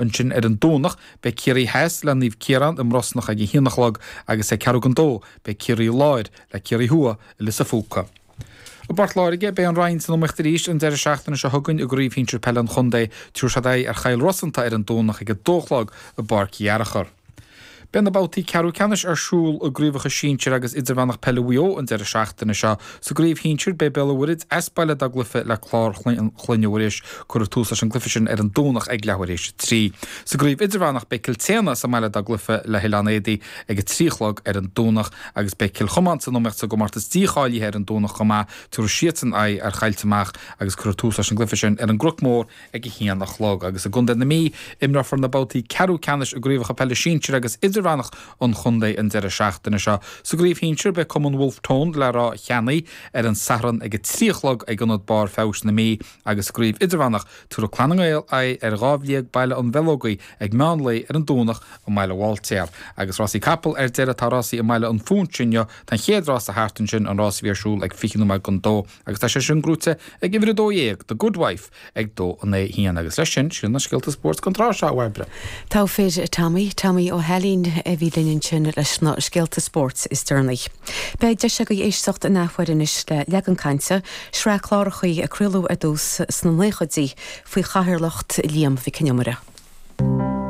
Ansin ar an Domhnach, beidh Ciarraí Theas le Naomh Ciarán i mBrosnach ag a haon a chlog agus ag ceathrú don dó beidh Ciarraí Láir le Ciarraí Thuaidh i Lios a' Phúca. I bPort Láirge, beidh an Rinn san iomaíocht arís an deireadh seachtaine seo chugainn i gCraobh Shinsir Peile an Chontae. Tabharfaidh siad aghaidh ar Chill Rosanta ar an Domhnach ag a dó a chlog i bPáirc Fhearchair. Beidh na babhtaí ceathrú ceannais ar siúl i gcraobhacha sinsir agus idirmheánach peile Mhaigh Eo an deireadh seachtaine seo. Sa gcraobh shinsir, beidh Béal an Mhuirthead as baile dá gcluiche le Clár Chloinne Mhuiris. Cuirfear tús leis an gcluiche sin ar an Domhnach ag leathuair éis a 3. Sa gcraobh idirmheánach, beidh Cill tSéadhna sa mbaile dá gcluiche le hOileán Éadaí ag a 3 a chlog ar an Domhnach agus beidh Cill Chomáin san iomaíocht sa gcomórtas dícháilithe ar an Domhnach chomh maith. Tabharfaidh siadsan aghaidh ar Choillte Mach agus cuirfear tús leis an gcluiche sin ar an gCnoc Mór ag a haon a chlog. Agus i gContae na Mí, imreofar na babhtaí ceathrú ceannais i gcraobhacha peile sinsir agus idirmheánach an chontae an deireadh seachtaine seo. Sa gcraobh shinsir, beidh Cumann Wolfe Tone le Ráth Cheannaigh ar an Satharn ag a 3 a chlog ag Ionad Barr Feabhais na Mí agus sa gcraobh idirmheánach, tabharfaidh Clanna nGael aghaidh ar Dhámh Liag Baile an Bheileogaigh ag meán lae ar an Domhnach i mBaile Bháiltéar. Agus rásaí capall ar deireadh, tá rásaí i mBaile an Phúinse inniu. Tá an chéad rása thart ansin, an rás a bhí ar siúl ag 20 nóiméad don dó. Agus tá sé sin gnóite ag uimhir 12, The Good Wife, ag 2, 9, 1. Agus leis sin, sin na scéalta spóirt don tráth seo, a Bhairbre. Togha fir, Tommy, Tommy Ó hAilín a bhí linn ansin leis na scéalta spóirt is deireanaí. Beidh deis agaibh éisteacht in athuair anois le Leagan Cainte, sraith clárachaí a craoladh ar dtús sna naochaidí faoi chathaoirleacht Liam Mhic Con Iomaire.